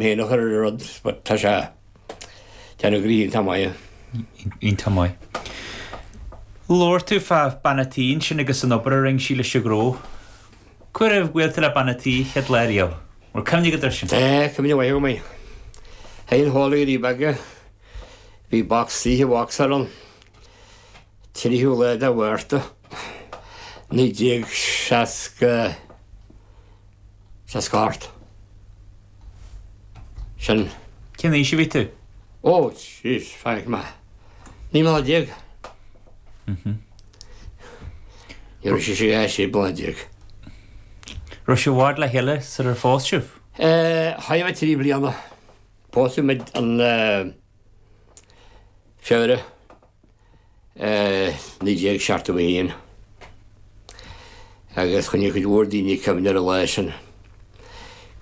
Féin a chur ar an rud but tá sé déanamh gnoithe iontach maith. Iontach maith. Labhair tú fá bean a' tí ansin agus an obair a rinne sí leis an ghnó. Cá huair a bhuail tú le bean a' tí chéad lá riamh? Bhfuil cuimhne agat air sin? Tá cuimhne mhaith agam air. Théinn a chodladh go dtí Beaga. Bhí box oíche boxáil ann. 3ú lá de Mhárta 1960 68. Sin. Cén aois a bhí tú? Ó, jeez, faigh mé. 19 mbliana. Ní raibh sé 16 bliana. Raibh sibh i bhfad le chéile sular phós sibh? Chaith mé 3 bliana. Pósadh muid an Feabhra. 1971 agus choinnigh cuid mhór daoine cuimhne ar an lá sin,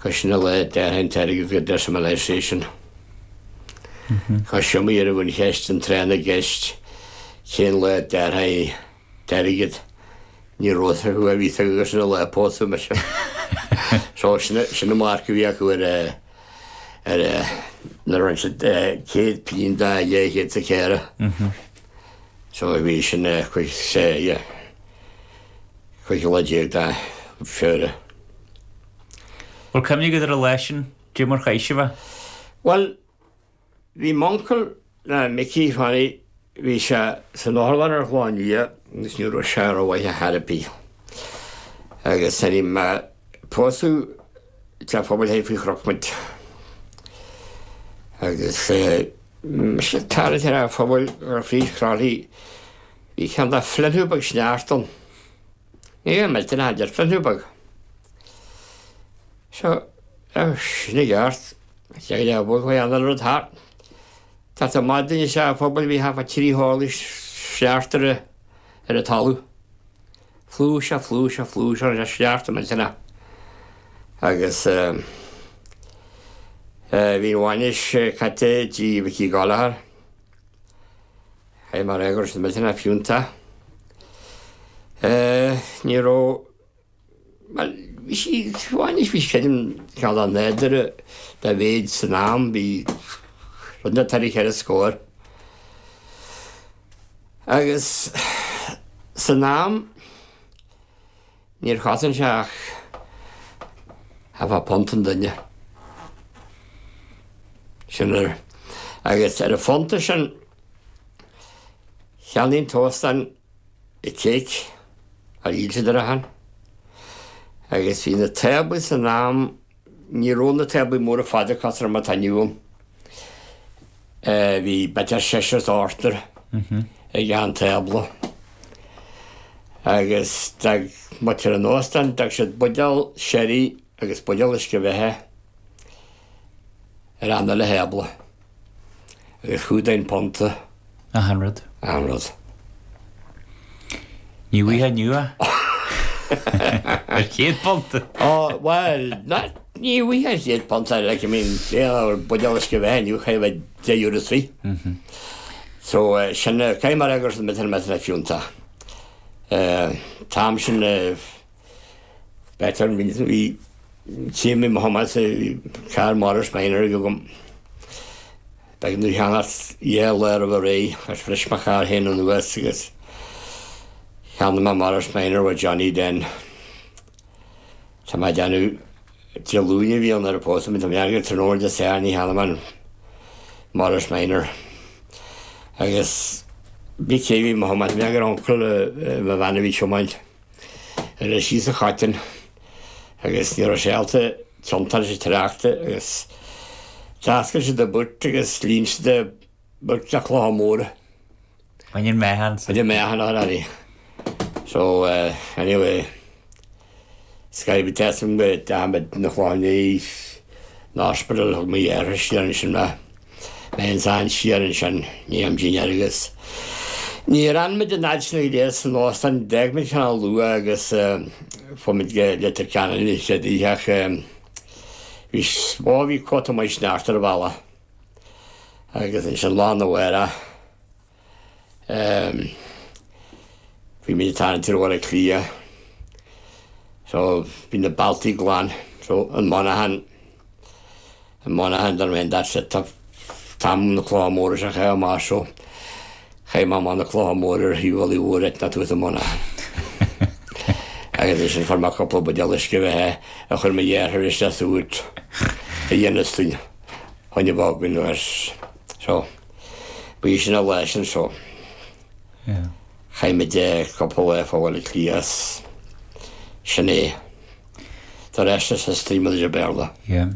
'cause sin an lá a d'athraigh an t-airgead go decimalisation. 'Cause is iomaí uair a bhí an cheist an tráth na gceist cén lá a d'athraigh t-airgead, ní raibh fhios acu a bhí fhios acu gur sin an lá a pósadh mise. So sin sin an marc a bhí acu ar ar nuair a rinne siad 100 pingin de 204. So bhí sin cuid yeah 15 lá de Feabhra. Bhfuil cuimhne agat ar an lá sin, dé mar chaith sibh é? Bhuel, Bhí m'uncail, Micí Johnny, bhí sé san otharlann ar Chlochán Liath agus ní raibh sé rómhaith ar chor ar bith. Agus nuair a bhí mé pósadh teach phobail thoir faoi chnoc muid. Agus mise ag tarraingt ar an phobail gur fríd Chroithlí bhí ceann de phliothnú beag sneachta ann. Ní raibh millteanach idir phliothnú beag. So, sin i gceart. Sé go bhfuil chuile an rud thart. Tá tá maidin is ea phobail bhí thart fá thrí horlaí sneachta ar ar an talamh. Flúirse, flúirse, flúirse ar sneachta millteanach. Agus bhí an bhainis caite i dTigh Mhicí Gallagher. Chaith mé a rá go raibh siad millteanach fiúntach. Ní raibh Bhuel, bhí sí, bhainis, bhí creidim, cineál dá nádúr dá mhéid san am, bhí rud inteacht thar a cheithre scór. Agus san am, níor chosain sé ach thart fá phunt an duine. Sin ar, agus ar an phunta sin, cheannaigh an t-óstán cake ar dhíol siad ar achan agus bhí na táblaí san am, ní raibh na táblaí móra fada cosúil le mar atá inniu ann. Bhí b'fhéidir seisear is ochtar ag achan tábla agus d'fhág muintir an óstáin, d'fhág siad buidéal sherry agus buidéal uisce bheatha ar achan uile thábla agus chumhdaigh an punta. Achan rud. Achan rud. Ní bhfaighfeá inniu é. Ar chéad phunta. Ó, bhuel, ní bhfaighfeá ar chéad phunta, like, I mean, buidéal uisce bheatha inniu, chaithfeá bheith €10 is fiche. So, sin, caithfidh mé a rá go raibh siad millteanach millteanach fiúntach. T-am sin, b'fhéidir, bhí, céim i mo chumas, carr Morris Minor agam. B'éigean domh cheannacht dhá lá roimh ré agus bhris mo charr féin anuas agus cheannaigh mé Morris Minor ó Johnny Den. Tá mé ag déanamh Dé Luain a bhí ann nuair a pósadh muid, tá mé ag déanamh gur tráthnóna Dé Sathairn a cheannaigh mé an Morris Minor. Agus bhí cé bhí mo thiomáint, mé gur uncail mo bhean a bhí tiomáint. Ar síos an Choiteann agus ní raibh sé ábalta tiontú leis an tráchta agus d'oscail siad an boot agus líon siad an boot le clocha móra. Bhain an meáchan. Bhain an meáchan already. So anyway scaip tesam go dteachaigh muid na clocha an ospidéal thug mo dheartháir siar ansin mé. Mé ansan siar ansin, ní am dinnéar agus níor fhan muid an fhad sin go léir san óstán, d'fhág muid cineál luath agus fuair muid go Leitir Ceanainn an chéad oíche ach bhí, ó bhí cóta maith sneachta ar an bhealach agus ansin lá arna mhárach bhí muid ag tarraingt ar Bhaile Átha Cliath so bhí na bealtaí glan so an monaghan. I Monaghan dar ndóigh that's it tá tam na clocha móra seo chaith amach so chaith mé amach na clocha móra ar thaobh Mhullaigh Mhór ait ná tús i Monaghan. Agus ansin fuair mé cúpla buidéal uisce bheatha a chuir mo dheartháir isteach sa bhoot a dhéanas dúinn chun a bheith againn agus so bhí sin an lá sin so chaith muid cúpla lá fá Bhaile Átha Cliath is sin é. The rest is history mar a deir Béarla. Yeah.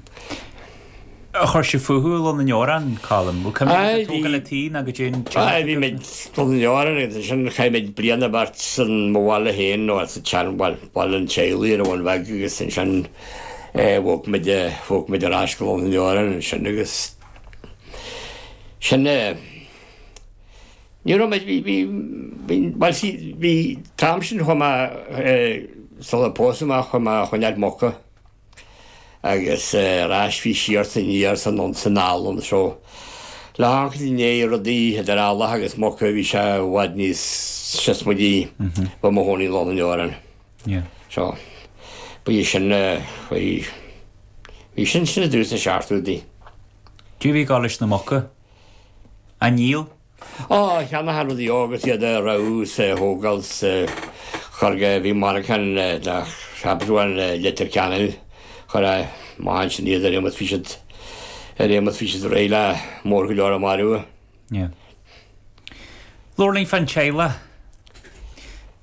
Ar chuir sibh fúthu i Londain Oran, Colm? Bhfuil cuimhne agat ar tógáil an tí ná go dté an teach Aye, bhí muid i Londain Oran agus ansin chaith muid bliain nó beirt san mo bhaile féin nó sa tsean bhaile, baile an teaghlaigh ar an Bhun Bheag agus ansin eh bhog muid eh bhog muid ar ais go Londain Oran ansin agus sin eh Ní raibh muid, bhí, bhí, bhí, bhuel see, bhí, t-am sin chuaigh mé eh sular pósadh mé chuaigh mé a choinneáil muca agus eh ar ais bhí siar 's aniar 's anonn 's anall ann so le hamharc i ndiaidh rudaí idir eallach agus muca bhí sé i bhfad níos siosmaidí bheith i mo chónaí i Londain Oran. So bhí sin eh bhí, bhí sin sin i dtús na seachtóidí. Cé a bhí ag gabháil leis na muca? Á ndíol? Á, cheannach rudaí agus iad a roghnú 's a thógáil 's a chur go, bhí monarchan nach cheapfá in Leitir Ceanainn, chuir a amach ansin iad ar aon bhí siad, ar aon bhí siad réidh le mór go leor a mharú. Yeah. Labhair linn fán teaghlach,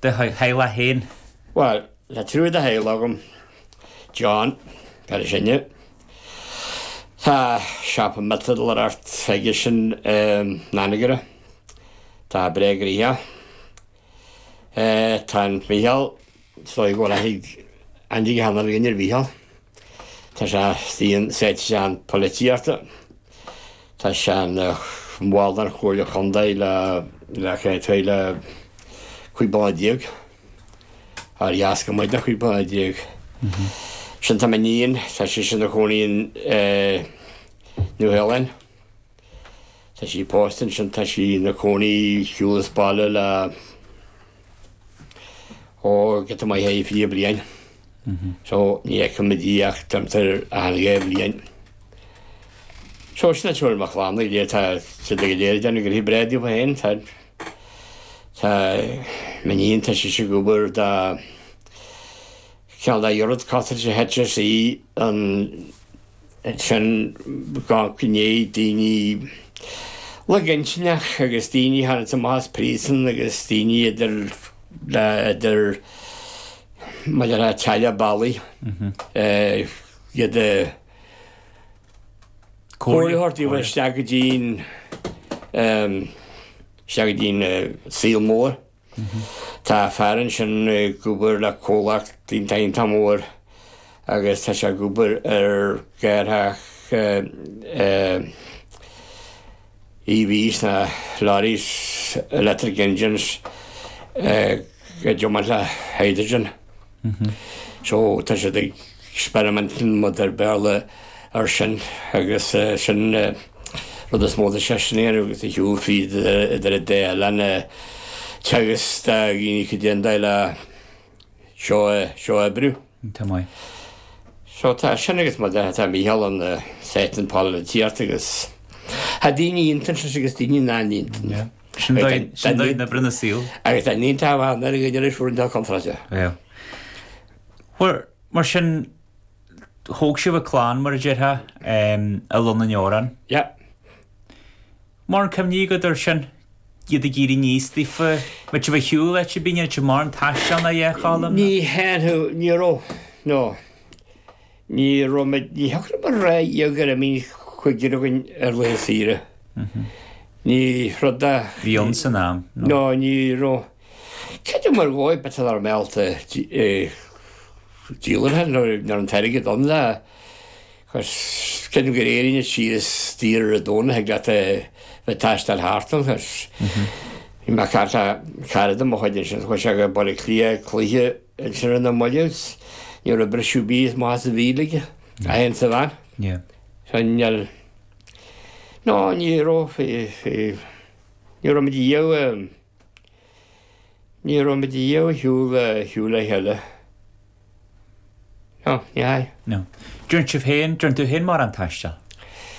do theaghlach féin. Bhuel, tá triúr de theaghlach agam, John, fear is sine, Tá siopa miotalóireacht aigesean in Anagaire. Tá breá gnoitheach. Tá an Mícheál, is dóigh go bhfuil aithne ag achan duine ar Mhícheál. Tá sé sáite isteach an polaitíochta. Tá sé ina bhall den Chomhairle Chontae le le le 15 bliana. Ar dheas go maith de 15 bliana. Sin tá m'iníon, tá sise ina cónaí in Nua Shéalainn. Tá sí pósta ansin, tá sí ina cónaí siúl as baile le ó giota maith é 20 bliain. So ní fheicimid í ach timpeall achan dhá bhliain. So sin an triúr mo chlann go léir, tá siad go léir ag déanamh gnoithe breá daofa féin, tá. Tá m'iníon, tá sise ag obair do cheann de oiread costais HSE ansin gach gné daoine lag-intinneach agus daoine a tháinig amach as príosún agus daoine idir le idir maidir le teaghlaigh bealaigh iad a Comhairle a thabhairt daofa isteach go dtí'n isteach go dtí'n saol mór. Tá fear ansin ag obair le comhlacht iontach iontach mór agus tá sé ag obair ar ghearrthach EVs na lorries, electric engines ag tiomáint le hydrogen. So tá siad ag experimenting mar a deir Béarla ar sin agus sin rud is mó atá seisean a dhéanamh agus a shiúl fríd idir an dá oileán ag teagasc do dhaoine cad é an dóigh le seo seo a oibriú. Tá maith. So tá sin agus mar tá Mícheál an sáite an pholaitíocht agus tá daoine iontach agus daoine nach iontach. Sin dóigh na oibre na saol. Agus tá ní tá an ar an iris fuair an contráilte. Yeah. Well, mar sin thóg sibh an clann mar a déarfá i Londain Oran. Yeah. Mórán cuimhní agat air sin, iad ag éirí aníos daofa, mbeadh sibh ar shiúl áit ar bith, ní raibh sibh mórán taisteal ná a Choilm? Ní théann, ní raibh, no. Ní raibh muid, ní thiocfadh liom a rá go raibh aon chuigear againn ar laetha saoire. Ní rud a. Bhí ann san am, no. No, ní raibh. Creidim ar dhóigh, b'fhéidir nach raibh mé ábalta díol air nuair an t-airgead ann le Cos creidim gur éirigh na síos daor ar an Domhnach thig leat a bheith ag taisteal thart ann cos bhí mé ag caint le cara de mo chuid ansin chuaigh sé go Baile Átha Cliath cluiche ansin ar na mallaibh is ní raibh briseadh bídh amach as a bhéal aige é féin sa veain. Yeah. So níl no ní raibh ní raibh muid riamh ní raibh muid riamh ar shiúl ar shiúl le chéile. No, ní hea. No. Déarfainn sibh féin, déarfainn tú féin mórán taisteal?